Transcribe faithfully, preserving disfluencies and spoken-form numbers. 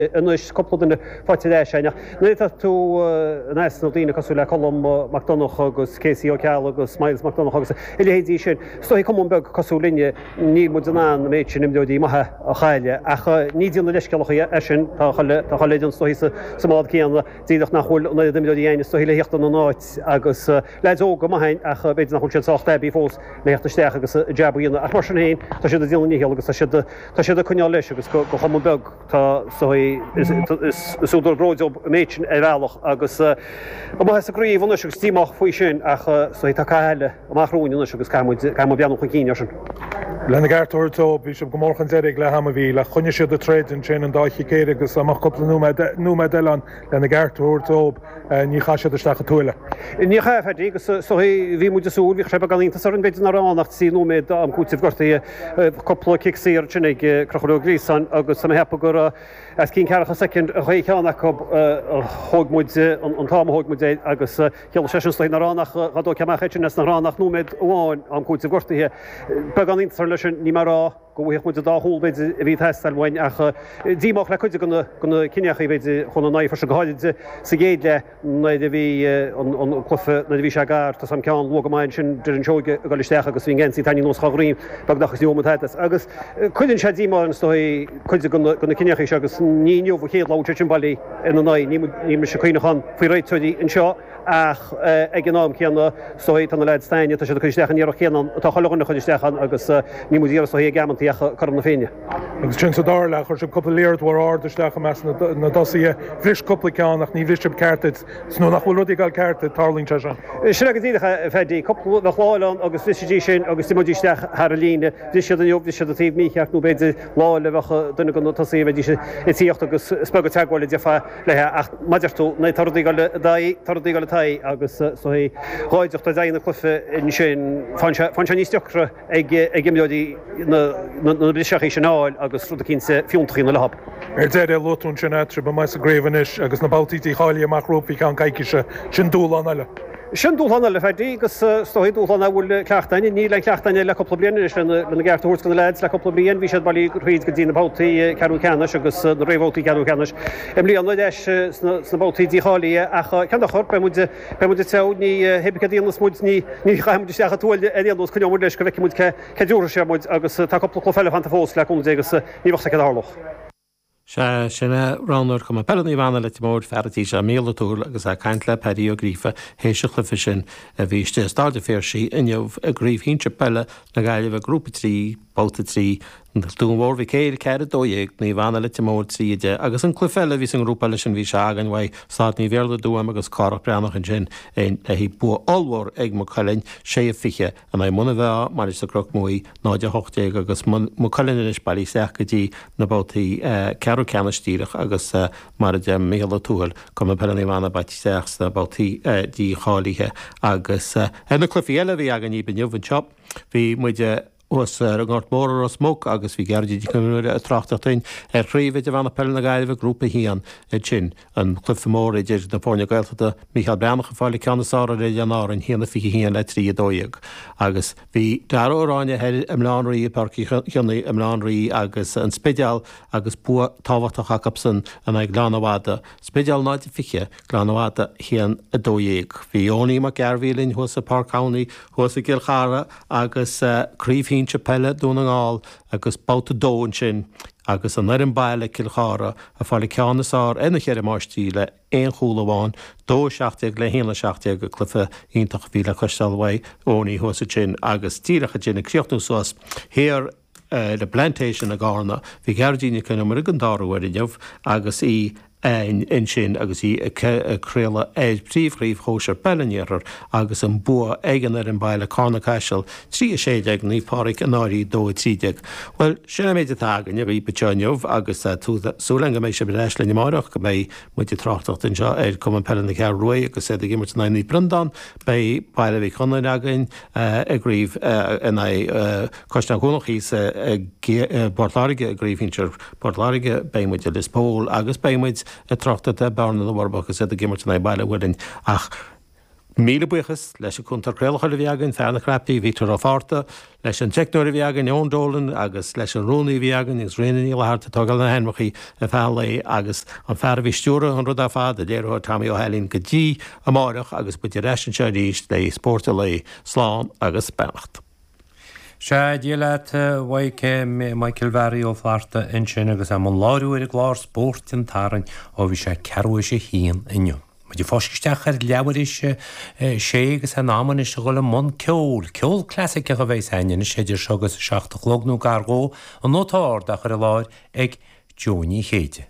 Anois cúpla duine faighte ar ais againn ach nuair atá tú in easnamh daoine cosúil le Colm Mac Donncha agus Casey Ó Ceallaigh agus Myles Mac Donncha agus a leithéidí sin, is dóichí cumann beag cosúil linne, níl muid in ann an méid sin imreoirí maithe a chailleadh. Ach ní déanamh leithscéalach é sin, tá chuile tá chuile fhoireann is dóichí sa mbád céanna, díreach nach bhfuil an oiread imreoirí againn is dóichí le theacht ina n-áit agus leaids óga maithe againn ach b'fhéidir nach bhfuil siad sách aibí fós le theacht isteach agus a jab a dhéanamh. Ach mar sin féin, tá siad ag déanamh a ndícheall agus tá siad tá siad ag coinneáil leis agus go chumann beag tá is údar bróid dóibh an méid sin ar bhealach agus amuigh as an gcraobh anois agus díomách faoi sin ach tá cath eile amach romhainn anois agus caithfidh muid caithfidh muid breathnú chun cinn air sin. Lena gceart a thabhairt dóibh, bhí sibh go mór chun deiridh ag leath ama, bhí, ach choinnigh siad ag troid ansin an dá chic éirice agus dá mbeadh cúpla nóiméad nóiméad eile ann lena gceart a thabhairt dóibh, ní chaith siad isteach an tuaille. Ní chaith, a Phaddy, agus is dóichí bhí muid ag súil, bhí sé beagán iontas orainn b'fhéidir nach raibh ann ach trí nóiméad am cúitimh gortaithe, cúpla cic saor ansin ag Conchúr Ó Gríosáin agus tá mé ag ceapadh gur as cionn ceathracha soicind a chuaigh ceann acu a thóg muid an t-am a thóg muid air agus chiallaigh sé sin is dóichí nach raibh ann ach dhá dtógfaí amach é sin as nach raibh ann ach nóiméad amháin am cúitimh gortaithe. Beagán iontas orainn leis sin, ní mar a rá go bhfaigheadh muid an dá chúl b'fhéidir a bhí ag teastáil uainn ach díomách le cuid de na cinneachaí b'fhéidir chun an aghaidh freisin go háirid sa gcéad leath nuair a bhí an cluiche nuair a bhí sé gar tá sam ceann luath go maith ansin Doireann Seoige ag dul isteach agus bhí an geansaí tarraingthe anuas dhá dhroim beagnach agus ní bhfuair muid tada as agus cuireann sé díomá orainn is dóigh cuid de na cinneachaí seo agus ní inniu an chéad lá a bhfuil sé sin bailí ina n-aghaidh. Níl mise ag cuimhneachán faoi réiteoirí anseo ach ag an am céanna is dóigh tá na leaids s'againne, tá siad ag cur isteach an iarracht chéanna atá chuile dhuine ag cur isteach ann agus níl muid ag iarraidh is dóigh ag amantaí ach cothrom na Féinne. Agus ansin sa dara leath, chuir sibh cúpla liathróid mhór ard isteach i measc na dtosaithe. Bhris cúpla ceann ach ní bhris sibh ceart iad. Is nuair nach bhfuil rudaí ag dul ceart tarlaíonn sé sin. Sin é go díreach é, a Phaddy. Cúpla bheadh lá eile ann agus bhrisfidís sin agus d'imeoidís isteach thar an líne. Bhris siad inniu, bhris siad an taobh mícheart nó b'fhéidir lá eile bheadh duine de na tosaithe bheidís ag tíocht agus is beag an teagmháil a déarfá léi ach mar a deir tú, nuair tá rudaí ag dul i d'aghaidh, tá rudaí ag dul i d'aghaidh agus is dóigh dhá dteacht i d'aghaidh na cluiche ansin, faigheann sé, faigheann sé níos deacra ag, ag imreoirí na, na, na briseachaí sin a fháil agus rud eicínt fiúntach a dhéanamh leo. Ar deireadh, luaigh tú ansin tá sibh amuigh as an gcraobh anois agus na babhtaí dícháilithe amach romhaibh faoi cheann coicíse, sin dúshlán eile. Sin dúshlán eile, a Phaddy, agus is dóigh dúshlán nach bhfuil cleachtadh againn. Níl aon chleachtadh againn le cúpla bliain anois lena gceart a thabhairt do na leaids le cúpla bliain. Bhí siad bailí thríd go dtí na babhtaí ceathrú ceannais agus na réamhbhabhtaí ceathrú ceannais. I mbliana ar ais sna babhtaí dícháilithe ach cén dochar, beidh muid beidh muid ag treabhadh, ní hé céard a dhéanfas muid, ní ní chaithfidh muid isteach an tuaille ar aon nós, coinneoidh muid leis go bhfeicfidh muid cé cé dtabharfaidh sé muid agus tá cúpla cluiche eile fanta fós le cúnamh Dé agus ní bheadh a fhios céard a tharlódh. Sea, sin é roghnóir Chumann Peile Naomh Anna Leitir Móir, fear an tí seo, Mícheál Ó Tuathail agus é ag caint le Paddy Ó Gríofa théis an chluiche sin a bhí istigh i Staid an Phiarsaigh inniu i gCraobh Shinsir Peile na Gaillimhe, Grúpa trí, Babhta trí, Dún Mhór Mhic Éil ceathair a dó dhéag, Naomh Anna Leitir Móir trí a deich agus an cluiche eile a bhí sa ngrúpa eile sin bhí sé againn uaidh Staid Naomh Iarlaith i dTuaim agus Cárthach Breathnach ansin le bua ollmhór ag Maigh Cuilinn, sé a fiche in aghaidh Muine Mheá, Mainistir Chnoc Muaidh, náid a hocht déag agus Maigh Cuilinn anois bailithe isteach go dtí na babhtaí ceathrú ceannais díreach agus mar a deir Mícheál Ó Tuathail, Cumann Peile Naomh Anna bailithe isteach sna babhtaí dícháilithe agus ar na cluichí eile a bhí againn inniu anseo bhí muid thuas ar an nGort Mór i Ros Muc agus bhí Gearóidín Nic Con Iomaire ag tráchtaireacht dúinn ar Chraobh Idirmheánach Peile na Gaillimhe, Grúpa a haon, ansin. An cluiche mór idir na foirne Gaeltachta, Mícheál Breathnach ag fáil an ceann is fearr ar Oileáin Árainn, a haon a fiche a haon le trí a dó dhéag. Agus bhí Dara Ó Ráinne thoir i mBaile Átha an Rí i bPáirc Uí Chionnaith i mBaile Átha an Rí agus an Spidéal agus bua tábhachtach acusan in aghaidh Ghleann na Madadh. Spidéal náid a fiche, Gleann na Madadh a haon a dó dhéag. Bhí Eoiní Mac Gairbhí linn thuas i Páirc Chonnaí thuas i gCill Chartha agus Craobh Shinsir Peile Dún na nGall agus babhta a dó ansin agus an fhoireann baile Cill Chartha ag fáil an ceann is fearr ar na Ceithre Máistrí le aon chúl amháin, dó a seacht déag le haon a seacht déag, cluiche iontach a bhí le cloisteáil uaidh Eoiní thuas ansin agus díreach ansin ag críochnú suas thiar ar an bPlantation i gCarna bhí Gearóidín Nic Con Iomaire den dara huair inniu agus í ansin agus í ag craoladh ar Phríomh-Chraobh Shóisir Peile an Iarthair agus an bua ag an fhoireann baile Carna Caiseal trí a sé déag, Naomh Pádraig an Fhairche dó a trí déag. Bhuel, sin an méid atá againn agaibh anseo inniu agus tá súil againn go mbeidh sibh ar ais linn amárach, go mbeidh muid ag tráchtaireacht anseo ar Cumann Peile na Ceathrún Rua agus iad ag imirt in aghaidh Naomh Breandán. Beidh Baile Mhic Gonáin againn i gcraobh in aghaidh Caisleán Cuanach thíos i bPort Láirge i gcraobh shinsir Port Láirge. Beidh muid i Lios Póil agus beidh muid ag tráchtaireacht ar Bearna na bhForbach agus iad ag imirt in aghaidh Baile Mhuirinn ach Míle buíochas leis an cúntóir craolacháin a bhí againn, fear na cnaipí, Vítor Ó Fátharta, leis an teicneoir a bhí againn, Eoin Dolan, agus leis an rúnaí a bhí againn, agus Ríona Ní Fhlatharta ag tógáil na hainmneacha ar feadh an lae, agus an fear a bhí ag stiúradh an rud ar fad, an léiritheoir Tommy Ó hAilín, go dtí amáireach agus muid ar ais anseo arís le Spórt an Lae. Slán agus beannacht. Sea, Dia leat, a Mhaidhc, Michael Mhary Ó Flatharta ansin agus é i mbun láithriú ar an gclár Spórt an tSathairn ó bhí sé ceathrú théis a haon inniu. Muid ag fáisceadh isteach ar leathuair théis a sé agus in am anois a dhul i mbun ceoil. Ceol clasaiceach a bheas againn anois idir seo agus a seacht a chlog nó gar dhó, an nóta ard á chur i láthair ag Joe Ní Chéide.